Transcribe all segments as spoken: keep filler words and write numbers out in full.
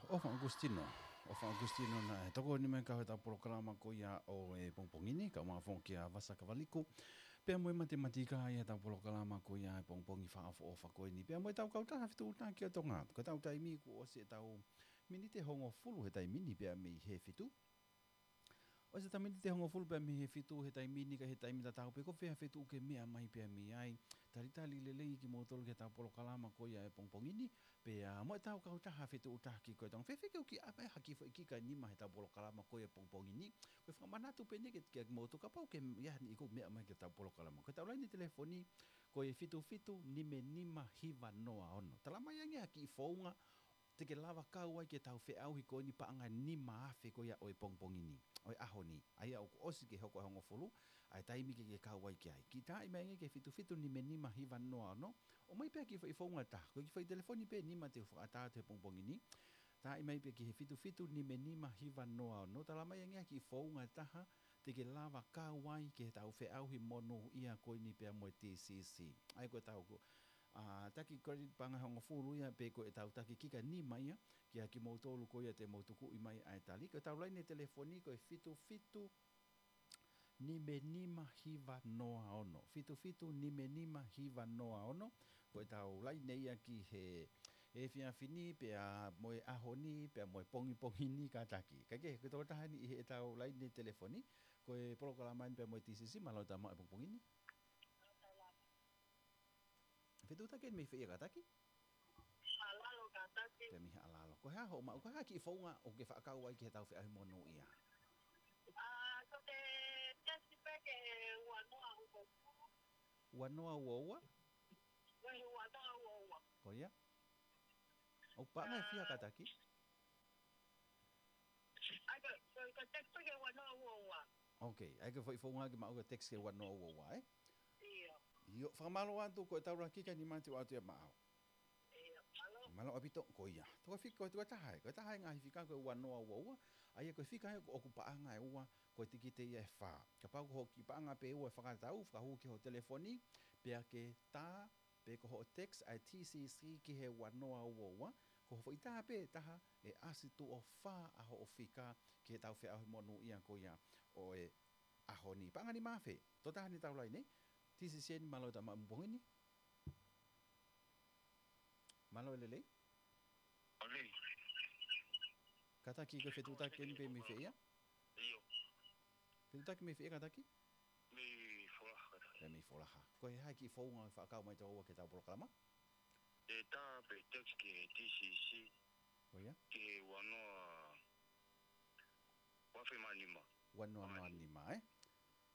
ʻOfa Agustino. ʻOfa Agustino naʻe tokoni mai ki heʻetau polokalama ko ia ʻo e pongipongi ni, kae ʻumaʻā foki ʻa Vasa Kavaliku. Pea mo e matematika ʻi heʻetau polokalama ko ia ʻi he pongipongi fakaʻofoʻofa ko eni. Pea mo ʻetau kautaha fetuʻutaki ʻa Tonga. Ko ʻetau taimi kuo ʻosi ʻetau miniti ʻe hongofulu he taimi ni pea mei he fitu. ʻOsi ʻetau miniti ʻe hongofulu pea mei he fitu he taimi ni, ka ʻi he taimi tatau pē ko fē ha feituʻu ke meʻa mai pea mei ai. Talitali lelei kimoutolu ki heʻetau polokalama ko ia ʻi he pongipongi ni. Pea mo ʻetau kautaha fetuʻutaki ko ia ʻa Tonga. Fēfē ke u kiʻi ʻomai ha kiʻi foʻi kika nima heʻetau polokalama ko ia ʻi he pongipongi ni. Ko e fakamanatu pē eni ke, ke mou tokapau ke ia ni ʻi ko meʻa mai ki heʻetau polokalama. Ko ʻetau laine telefoni, ko e fitu fitu nima nima hiva noa ono. Tala mai ange ha kiʻi founga te ke lava kau ai ki heʻetau feʻauhi ko eni paʻanga ʻe nima afe ko ia ʻo e pongipongi ni, ʻo e ʻaho ni. ʻA ia ʻoku ʻosi ke hoko e hongofulu, ʻa e taimi ke ke kau ai ki ai. Kiʻi taaʻi mai ange ki he fitu fitu nima nima hiva noa ono, ʻomai pē ha kiʻi foʻi founga ʻe taha. Ko e kiʻi foʻi telefoni pē ʻe nima te u fakaʻatā atu he pongipongi ni. Taaʻi mai pē ki he fitu fitu nima nima hiva noa ono, tala mai ange ha kiʻi founga ʻe taha, te ke lava kau ai ki heʻetau feʻauhi monūʻia ko eni pea mo e T C C. ʻA ia ko ʻetau ko, ʻa, taki credit paʻanga ʻe hongofulu ia, pe ko ʻetau taki kika nima ia, kia kimoutolu ko ia te mou tukuʻi mai ʻa e tali. Ko ʻetau laine telefoni ko e fitu fitu nima nima hiva noa ono. Fitu fitu nima nima hiva noa ono. Ko ʻetau laine ia ki he efiafi ni, pea mo e ʻaho ni, pea mo e pongipongi ni kātaki. Kae kehe, ko e tokotaha eni ʻi heʻetau laine telefoni, ko e polokalama eni pea mo e T C C, mālō e tau maʻu e pongipongi ni. Fetuʻutaki eni mei fē ia kātaki? Haʻalalo kātaki. Pea mei Haʻalalo. Ko e hā hoʻo maʻu, ko e hā kiʻi founga ʻoku ke fakaʻau ai ki heʻetau feʻauhi monūʻia? ʻA, ko e text pē ki he ua noa ua ua. Ua noa ua ua? Ui, ua noa ua ua. Ko ia? ʻOku paʻanga ʻe fiha kātaki? ʻA ia ko, ko, ko e text pē ki he ua noa ua ua. Ok, ʻa ia ko e foʻi founga ke maʻu ko e text ki he ua noa ua ua, ē? ʻIo. ʻIo, fakamālō atu, ko ʻetau lahi kika nima te u ʻoatu ia maʻau. ʻIo, mālō. Mālō ʻaupito, ko ia. Toka fika, ko e tokotaha ē, ko e taha ē ngaahi fika ko e ua noa ua ua, ʻa ia ko e fika ē ʻoku paʻanga ʻe ua, ko e tikite ia ʻe fā. Kapau ko hoʻo kiʻi paʻanga pē ʻe ua ʻe fakatatau, fakahū ki hoʻo telefoni, pea ke tā, pe ko hoʻo text ʻa e T C C ki he ua noa ua ua, ko hoʻo foʻi tā pē ʻe taha ʻe ʻasi tuʻo fā ʻa hoʻo fika ki heʻetau feʻauhi monūʻia ko ia ʻo e ʻaho ni. Paʻanga ʻe nima afe, tokotaha eni ʻi heʻetau laine, T C C eni, mālō e tau maʻu e pongipongi ni. Mālō e lelei. Lelei. Kātaki, ko e fetuʻutaki eni pē mei fē ia? ʻIo. Fetuʻutaki mei fē ia kātaki? Mei Folaha kātaki. Pea mei Folaha. Ko e hā e kiʻi founga ʻoku ke fakaʻau mai ʻe taua ki heʻetau polokalama? ʻE tā pē text ki he T C C. Ko ia? Ki he ua noa ua afe mā nima. Ua noa mā nima, ē?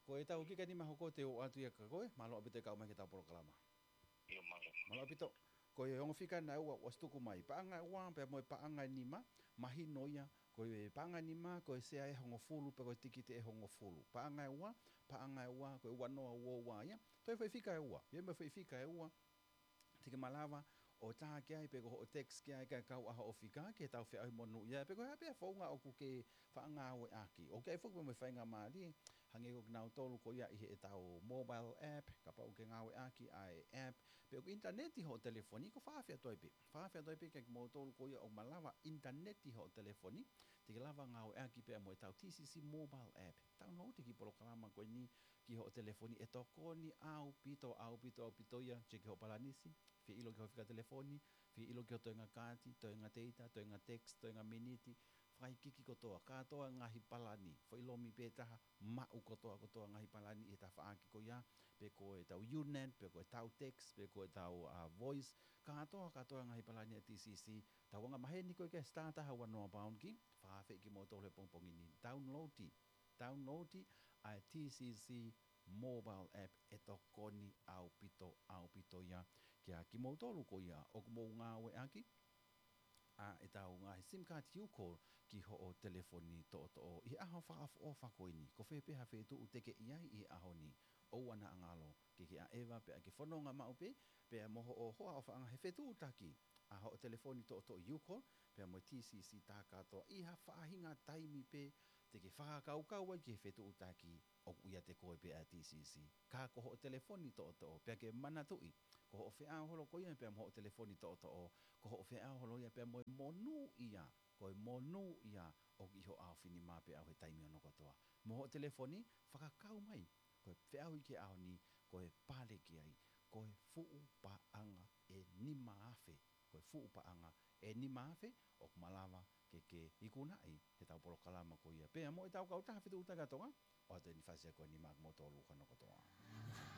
Ko ʻetau kika nima hoko te u ʻoatu ia kia koe, mālō ʻaupito e kau mai ki heʻetau polokalama. ʻIo, mālō. Mālō ʻaupito. Ko e ongo fika ena ʻe ua ʻoku ʻosi tuku mai. Paʻanga ʻe ua, pea mo e paʻanga ʻe nima, mahino ia, ko e paʻanga ʻe nima, ko e sea ʻe hongofulu, pe ko e tikite ʻe hongofulu. Paʻanga ʻe ua, paʻanga ʻe ua, ko e ua noa ua ua ia. Toe foʻi fika ʻe ua, ʻio mo e foʻi fika ʻe ua, te ke malava ʻo tā ki ai pe ko hoʻo text ki ai kae kau ʻa hoʻo fika ki heʻetau feʻauhi monūʻia pe ko e hā pē founga ʻoku ke faʻa ngāueʻaki. ʻOku ʻi ai foki pē mo e faingamālie, hangē ko kinautolu ko ia ʻi heʻetau mobile app, kapau ʻoku ke ngāueʻaki ʻa e app, pe ʻoku ʻinitaneti hoʻo telefoni, ko e fakaafeʻi atu ai pē. Fakaafeʻi atu ai pē kia kimoutolu ko ia ʻoku malava ʻinitaneti hoʻo telefoni, te ke lava ngāueʻaki pea mo ʻetau T C C mobile app. Download e kiʻi polokalama ko eni ki hoʻo telefoni, ʻe tokoni ʻaupito, ʻaupito, ʻaupito ia, check hoʻo palanisi, fie ʻilo ki hoʻo fika telefoni, fie ʻilo ki hoʻo toenga kaati, toenga data, toenga text, toenga miniti, fakaikiiki kotoa, kātoa ngaahi palani, foʻi lomi pē ʻe taha, maʻu kotoa, kotoa ngaahi palani ʻi he tafaʻaki ko ia, pe ko ʻetau U-net, pe ko ʻetau text, pe ko ʻetau, uh, voice, kātoa, kātoa ngaahi palani ʻa e T C C, tau anga maheni ko ē ki he star taha ua noa pound key, fakaafeʻi kimoutolu he pongipongi ni, download ʻi, download ʻi ʻa e T C C mobile app, ʻe tokoni ʻaupito, ʻaupito ia kia kimoutolu ko ia ʻoku mou ngāueʻaki ʻa ʻetau ngaahi SIM card U-call ki hoʻo telefoni toʻotoʻo ʻi he ʻaho fakaʻofoʻofa ko eni. Ko fē pē ha feituʻu te ke ʻi ai ʻi he ʻaho ni, ʻoua naʻa ngalo ke ke ʻaʻeva pea ke fononga maʻu pē, pea mo hoʻo hoa ʻofaʻanga he fetuʻutaki ʻa hoʻo telefoni toʻotoʻo U-call pea mo e T C C tā kātoa ʻi ha faʻahinga taimi pē te ke fakakaukau ai ki he fetuʻutaki ʻoku ʻiate koe pē ʻa e T C C. Ka ko hoʻo telefoni toʻotoʻo, pea ke manatuʻi, ko hoʻo feʻao holo ko ia pea mo hoʻo telefoni toʻotoʻo, ko hoʻo feʻao holo ia pea mo e monūʻia ko e monūʻia ʻoku ʻi ho ʻaofinima pē ʻaʻau he taimi hono kotoa. Mo hoʻo telefoni, fakakau mai, ko e feʻauhi ki he ʻaho ni, ko e pale ki ai, ko e fuʻu paʻanga ʻe nima afe, ko e fuʻu paʻanga ʻe nima afe, ʻoku malava ke ke ikunaʻi heʻetau polokalama ko ia. Pea mo ʻetau kautaha fetuʻutaki ʻa Tonga, ʻoatu ʻeni fasi ko eni maʻa kimoutolu hono kotoa.